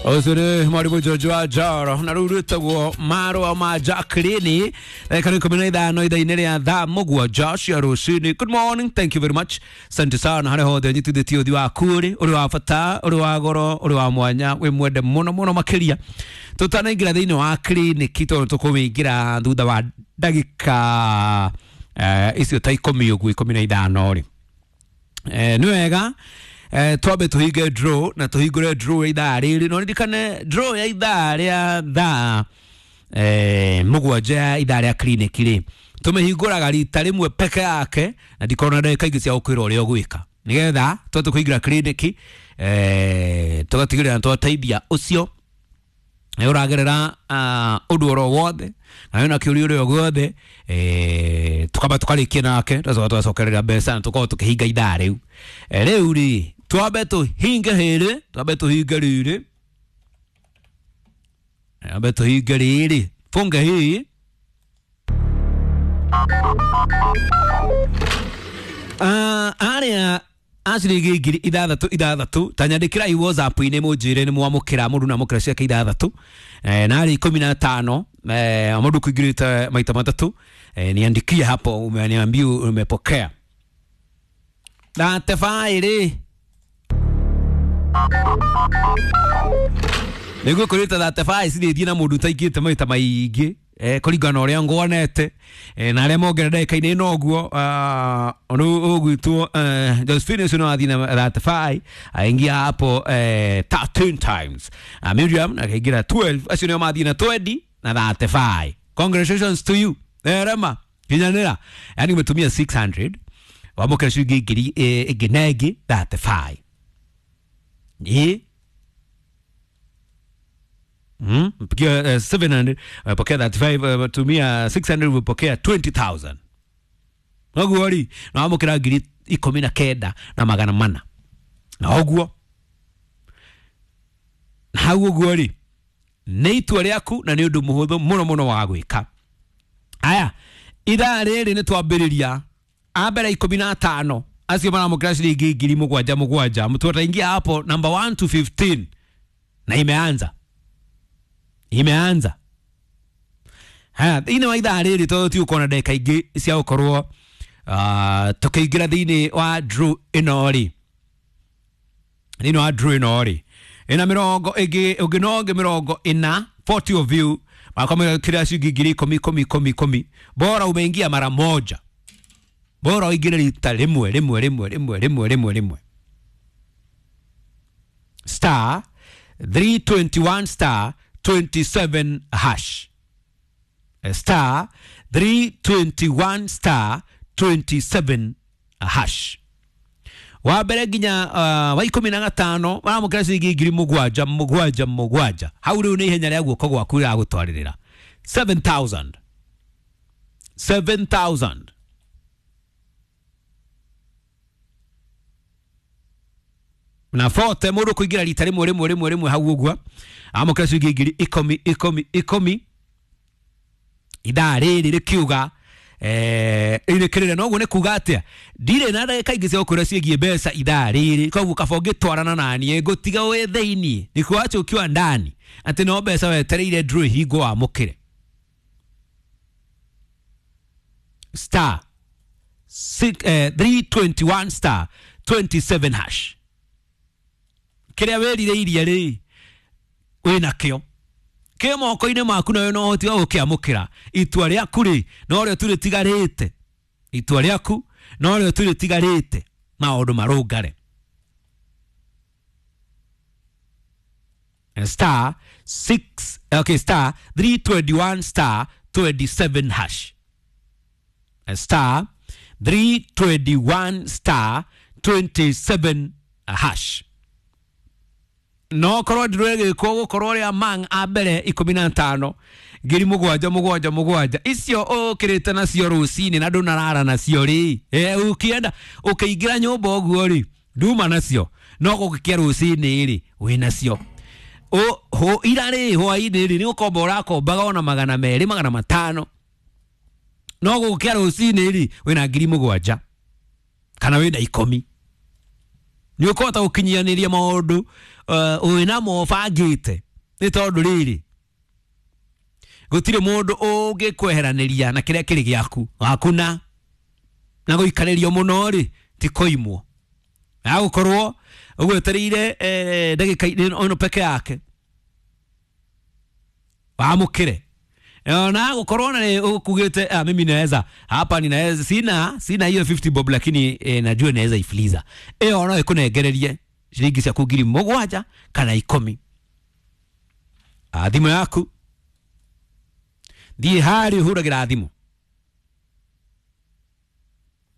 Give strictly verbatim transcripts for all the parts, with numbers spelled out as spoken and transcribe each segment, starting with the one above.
Ũcio nĩ mwarimũ George wa Njoro na rĩu rwĩtagwo marũa ma Jacqueline ndagĩka ikũmi na ithano ithaa-inĩ rĩa thaa mũgwanja cia rũcinĩ. Good morning, thank you very much, asante sana harĩa hothe ũnyitithĩtie ũthiũ waku ũrĩ ũrĩ wa bata, ũrĩ wa goro, ũrĩ wa mwanya, wĩ mwende mũno mũno makĩria. Tũtanaingĩra thĩinĩ wa kiriniki tondũ tũkũmĩingĩra thutha wa ndagĩka eh, icio ta ikũmi ũguo, ikũmi na ithano rĩ, eh, nĩ wega eh, twambe tũhinge draw na tũhingũre draw ya ithaa rĩrĩ, no ririkane draw ya ithaa rĩa thaa eh, mũgwanja ya ithaa rĩa clinic rĩ, tũmĩhingũraga rita rĩmwe peke yake na ndikorwo na ndagĩka ingĩ cia gũkwĩra ũrĩa ũgwĩka nĩgetha tũhote kũingĩra clinic, eh, tũgatigĩrĩra nĩ twateithia ũcio ũragerera uh, ũndũ oro wothe na wĩna kĩũria ũrĩa guothe, eh, tukamba tukarĩkia nake tũgacoka tũgacokerera mbeca na tũkorwo tũkĩhinga ithaa rĩu. Eh, rĩu rĩ twambe tũhinge hĩrĩ, twambe tũhinge rĩrĩ, twambe tũhinge rĩrĩ, funge hii. Uh, arĩa a ciringi ngiri ithathatũ ithathatũ ta nyandĩkĩrai WhatsApp-inĩ mũnjĩre nĩ mwamũkĩra mũndũ namũkĩra ciake ithathatũ, eh, na arĩ ikũmi na tano, eh, mũndũ kũingĩrĩte maita matatũ, eh, niandikie hapo umeniambia umepokea na tebaĩ nĩguo kũrĩte thirty-five cirĩthiĩ na mũndũ ũtaingĩte maita maingĩ, eh, kũringana na ũrĩa nguonete, eh, na arĩa mongerera ndagĩka-inĩ ĩno ũguo rĩu ũgwĩtwo eh, Josephine ũcio no athiĩ na thirty-five aingia hapo eh, thirteen times. uh, Miriam akaingĩra twelve, acio nĩo mathiĩ na twenty na thirty-five. Congratulations to you, eh, Rema kinyanĩra, yani umetumia six hundred wamũkĩra ciringi ngiri ĩngĩ na ĩngĩ thirty-five. Ĩ Mm, mpigia uh, seven hundred umepokea thirty-five, uh, tumia six hundred umepokea twenty thousand. Noguo ri na wamũkĩra ngiri ikũmi na kenda na magana mana. Na ũguo na hau ũguo ri nĩ itua rĩaku na nĩ ũndũ mũhũthũ mũno mũno wa gwĩka. Aya, ithaa rĩrĩ nĩ twambĩrĩria a mbere ikũmi na atano acio maramũkĩra ciringi ngiri mũgwanja mũgwanja, mtu ataingia hapo number one to fifteen na imeanza imeanza. Haya, thĩinĩ wa ithaa rĩrĩ tondũ tigũkorwo na ndagĩka ingĩ cia gũkorwo uh, tũkĩingĩra thĩinĩ wa draw ĩno rĩ, thĩinĩ wa draw ĩno rĩ ĩna mĩrongo ĩngĩ ũngĩ no ũngĩ mĩrongo ĩna, forty of you makamũkĩra ciringi ngiri ikũmi ikũmi ikũmi ikũmi. Bora umeingia mara moja, bora ũingĩre rita rĩmwe rĩmwe rĩmwe rĩmwe rĩmwe rĩmwe rĩmwe. Star three twenty-one star twenty-seven hash, star three twenty-one star twenty-seven hash. Wa mbere nginya uh, wa ikũmi na gatano maramũkĩra ciringi ngiri mũgwanja mũgwanja mũgwanja. Hau rĩu nĩ ihenya rĩa guoko gwaku rĩragũtwarĩrĩra seven thousand, seven thousand. Na forty mũndũ kũingĩra rita rĩmwe rĩmwe rĩmwe rĩmwe hau ũguo amũkĩra ciringi ngiri ikũmi ikũmi ikũmi. Ithaa rĩrĩ rĩkiuga eh, rĩkĩrĩra noguo nĩ kuga atĩa, ndirĩ na ndagĩka ingĩ cia gũkwĩra ciĩgiĩ mbeca ithaa rĩrĩ, koguo kaba ũngĩtwarana naniĩ ngũtiga wĩ thĩiniĩ nikuache ukiwa ndani atĩ no mbeca wetereire draw ĩhingwo wamũkĩre. Star six, eh, three twenty-one star twenty-seven hash. Kĩrĩa wĩrirĩirie rĩ wĩnakĩo kĩ moko-inĩ maku nawe no ũhoti wa gũkĩamũkĩra. Itua rĩaku rĩ no rĩo tu rĩtigarĩte, itua rĩaku no rĩo tu rĩtigarĩte maũndũ marũngare. Star six, okay, star three twenty-one star twenty-seven hash, star three twenty-one star twenty-seven hash. No korwo ndĩrwĩgĩkwo gũkorwo ũrĩa mang a mbere ikũmi na tano ngiri mũgwanja mũgwanja mũgwanja icio ũkĩrĩte nacio rũcinĩ na ndũnarara nacio rĩ, eh, ũkĩenda ũkĩingĩra nyũmba ũguo rĩ nduma nacio no gũgĩkĩa rũcinĩ rĩ wĩ nacio. O ira rĩ hwainĩ rĩ nĩ ũkomba ũrakombaga ona magana merĩ magana matano no gũgĩkĩa rũcinĩ rĩ wĩna ngiri mũgwanja kana wĩna ikũmi. Nĩ ũkũhota gũkinyanĩria maũndũ wĩnamo ũbangĩte, nĩ tondũ rĩrĩ gũtirĩ mũndũ ũngĩkweheranĩria na kĩrĩa kĩrĩ gĩaku hakuna na gũikarĩrio mũno rĩ ti kũimwo. Agũkorwo ũgwetereire ndagĩka ĩno peke yake wamũkĩre na gũkorwo na ukugĩte ah, mimi naweza hapa ninaweza sina sina hiyo fifty bob lakini eh, najua naweza ifliza ĩyo no ĩkũnengererie ciringi ciaku ngiri mũgwanja kana ikũmi. Ah, thimũ yaku thiĩ harĩa ũhũragĩra thimũ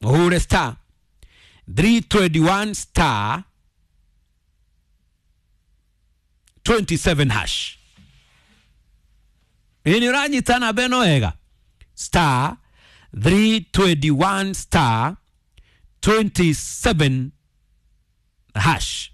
ũhũre star three twenty-one star twenty-seven hash. Ĩ nĩ ũranyita namba ĩno wega, star three twenty-one star twenty-seven hash.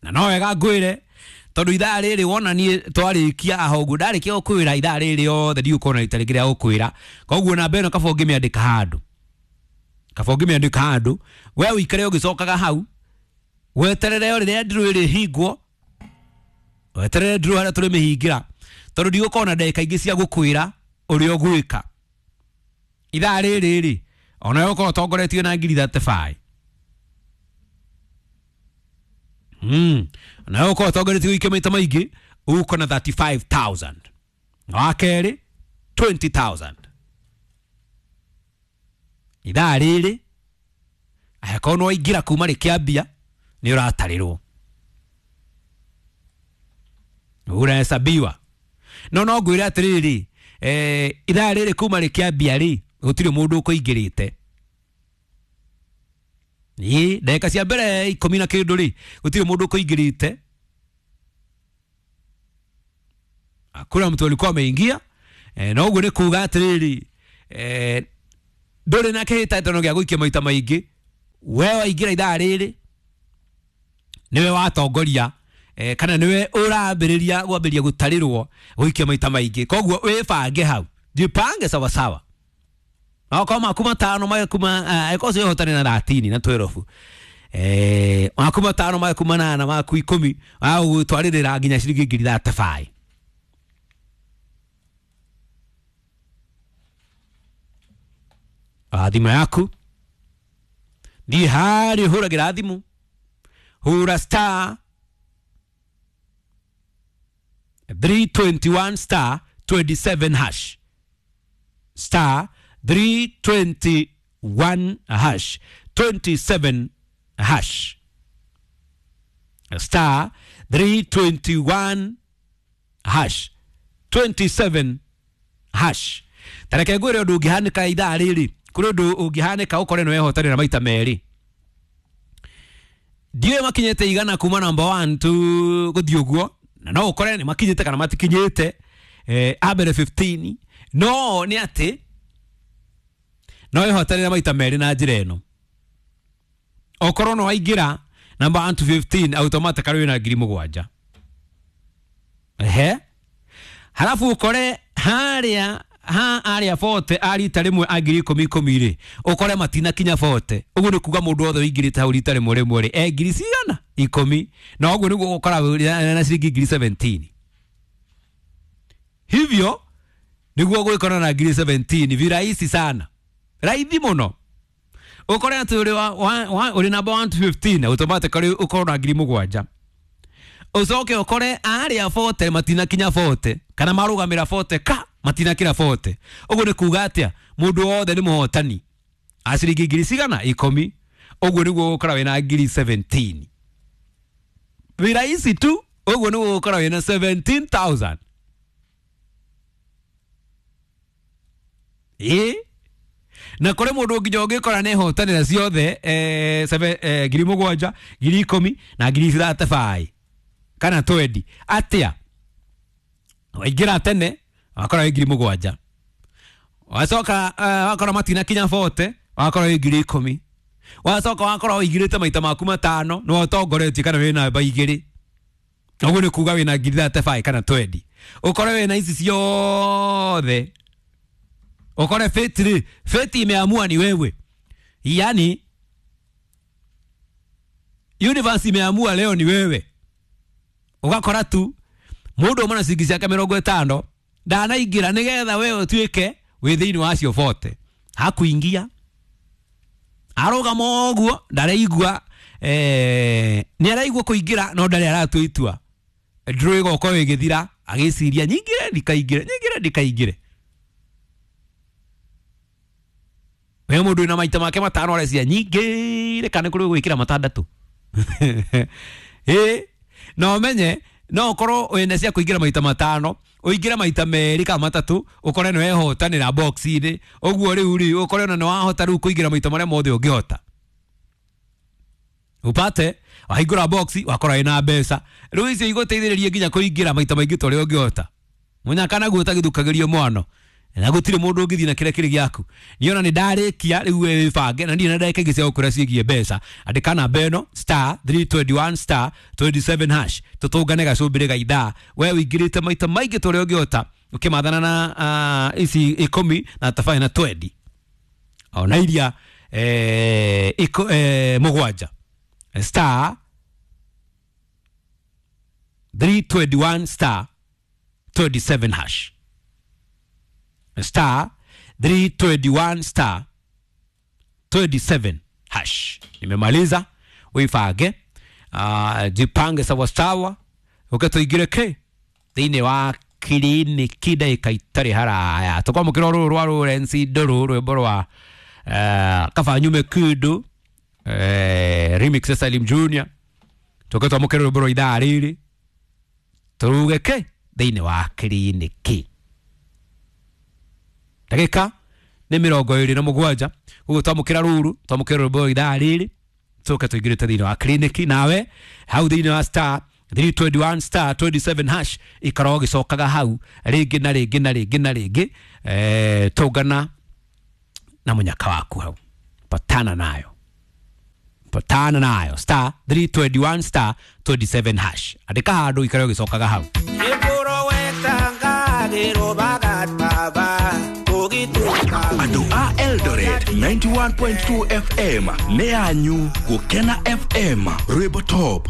Na no wega ngwĩre tondũ ithaa rĩrĩ wona niĩ twarĩkia aha ũguo ndarĩkia gũkwĩra ithaa rĩrĩ yothe ndigũkorwo na rita rĩngĩ rĩa gũkwĩra. Koguo namba ĩno kaba ũngĩmĩandĩka handũ, kaba ũngĩmĩandĩka handũ we ũikare ũgĩcokaga hau weterere o rĩrĩa ndirũ ĩrĩhingwo, weterere ndirũ harĩa tũrĩmĩhingĩra tondũ ndigũkorwo na ndagĩka ingĩ cia gũkwĩra ũrĩa ũgwĩka. Ithaa rĩrĩ rĩ ona ũkorwo ũtongoretio na ngiri thirty-five. Mm. Na uko ũtongoretie gũikia maita maingĩ uko na thirty-five thousand. Na wa kerĩ twenty thousand. Ithaa rĩrĩ angĩkorwo nĩ waingĩra kuma rĩkĩambia nĩ ũratarĩrwo, ũrahesabiwa. No no ngwĩre atĩrĩrĩ eh, ithaa rĩrĩ kuma rĩkĩambia rĩ gũtirĩ mũndũ ũkũingĩrĩte. Ĩ ndagĩka cia mbere ikũmi na kĩndũ rĩ gũtirĩ mũndũ ũkũingĩrĩte. Hakuna mtu alikuwa ameingia. Eh, na ũguo nĩ kuga atĩrĩrĩ eh, ndũrĩ na kĩhĩtahĩtano gĩa gũikia maita maingĩ. We waingĩra ithaa rĩrĩ nĩwe watongoria eh, kana nĩwe ũrambĩrĩria gwambĩrĩria gũtarĩrwo gũikia maita maingĩ. Koguo wĩbange hau, jipange sawa sawa. Okorwo maku matano maku angĩkorwo ũcio ũhotane na thirteen na twelve eh, maku matano maku manana maku ikũmi agũgũtwarĩrĩra nginya ciringi ngiri thirty-five. Thimũ yaku thiĩ harĩa ũhũragĩra thimũ, hũra star three twenty-one star twenty-seven hash, star three twenty-one hash twenty-seven hash, star three twenty-one hash twenty-seven hash. Tareke ngwĩre ũndũ ũngĩhanĩka ithaa rĩrĩ, kũrĩ ũndũ ũngĩhanĩka ũkore nĩ wehotanĩra maita merĩ. Ndiũĩ makinyĩte igana kuma number one to gũthiĩ ũguo, na no ũkore nĩ makinyĩte kana matikinyĩte eh, a mbere fifteen. No nĩ atĩ no wehotanĩra maita merĩ na njĩra ĩno. Okorwo no waingĩra number one to fifteen automatically wĩna ngiri mũgwanja. Ehe, halafu ũkore harĩa ha arĩa forty a rita rĩmwe a ngiri ikũmi ikũmi rĩ ũkore matinakinya forty. Ũguo nĩ kuga mũndũ wothe ũingĩrĩte hau rita rĩmwe rĩmwe rĩ e ngiri cigana ikũmi, na ũguo nĩguo ũgũkora na ciringi ngiri seventeen. Hivyo nĩguo gwĩkora na ngiri seventeen virahisi sana, raithi mũno. Ũkore atĩ ũrĩ ũrĩ number one to fifteen automatically ũkorwo na ngiri mũgwanja. Ũcoke ũkore arĩa forty matinakinya forty kana marũgamĩra forty ka matinakĩra forty. Ũguo nĩ kuga atĩa mũndũ wothe nĩ mũhotani a ciringi ngiri cigana ikũmi. Ũguo nĩguo ũgũkora wĩna ngiri seventeen. Virahisi tu, ũguo nĩguo ũgũkora wĩna seventeen thousand. Ĩ na kũrĩ mũndũ nginya ũngĩkora nĩ hotanĩra ciothe eh, eh, ngiri mũgwanja ngiri ikũmi na ngiri thirty-five kana twenty. Atĩa waingĩra tene wakora wĩ ngiri mũgwanja, wacoka uh, wakora matinakinya forty wakora wĩ ngiri ikũmi, wacoka wakora ũingĩrĩte maita maku matano nĩwe ũtongoretie kana wĩ namba igĩrĩ. Ũguo nĩ kuga wĩna ngiri thirty-five kana twenty. Ũkore wĩna ici ciothe, ũkore fate rĩ, fate imeamua ni wewe. Yani Universe imeamua leo ni wewe. Ugakora tu mundu umwe na ciringi ciake mirongo itano ndanaingira nigetha wewe utuike wi thiini wa acio bote. Hakuingia arugama uguo ndareigua, eh ni araigua kuingira no ndari aratua itua. Nduru igokorwo igithira agiciria nyingire ndikaingire, nyingire ndikaingire. We mundu wina maita make matano arecia nyingire kana kuri gwikira matandatu. Eh no menye no ukorwo wina cia kuingira maita matano uingira maita meri kana matatu ukore ni wehotanira box-ini uguo riu ri ukore ona ni wahota riu kuingira maita maria mothe ungihota. Upate wahingura box wakora wina mbeca riu icio iguteithiririe nginya kuingira maita maingi ta uria ungihota. Munyaka naguo utagithukagirio mwano na gutire mundu ungithii na kiria kiri giaku. Niona ni ndarikia riu wibange na ndirĩ na ndagĩka ingĩ cia gũkwĩra ciĩgiĩ mbeca. Andĩka namba ĩno star three twenty-one star twenty-seven hash tũtũngane gacũmbĩrĩ ga ithaa. We ũingĩrĩte maita maingĩ ta ũrĩa ũngĩhota ũkĩmathana na uh, ici ikũmi na tabarĩ na twendi ona iria eh, iko, eh, mũgwanja star three twenty-one star twenty-seven hash star three twenty-one star twenty-seven hash. Nimemaliza, uifange, uh, jipange sawa sawa ukatuingire ke thiini wa kiriniki ndagĩka itarĩ haraya. Tũkwamũkĩra rũrũ rwa Lawrence Ndũrũ, rwĩmbo rwa uh, kaba nyume kĩndũ, eh, remix ya Salim Junior. Tũke twamũkĩre rwĩmbo rwa ithaa rĩrĩ tũruge ke thiini wa kiriniki. Ndagĩka nĩ mĩrongo ĩrĩ na mũgwanja ũguo twamũkĩra rũrũ twamũkĩra rwĩmbo rwa ithaa rĩrĩ tũke tũingĩrĩte thĩinĩ wa kiriniki. Nawe hau thĩinĩ wa star three twenty-one star twenty-seven hash ikara ũgĩcokaga hau rĩngĩ na rĩngĩ na rĩngĩ na rĩngĩ, eh, tũngana na mũnyaka waku hau, patana nayo, patana nayo star three twenty-one star twenty-seven hash. Andĩka handũ ikara ũgĩcokaga hau. Andũ a Eldoret ninety-one point two F M nĩ yanyu Gũkena F M rwĩmbo top.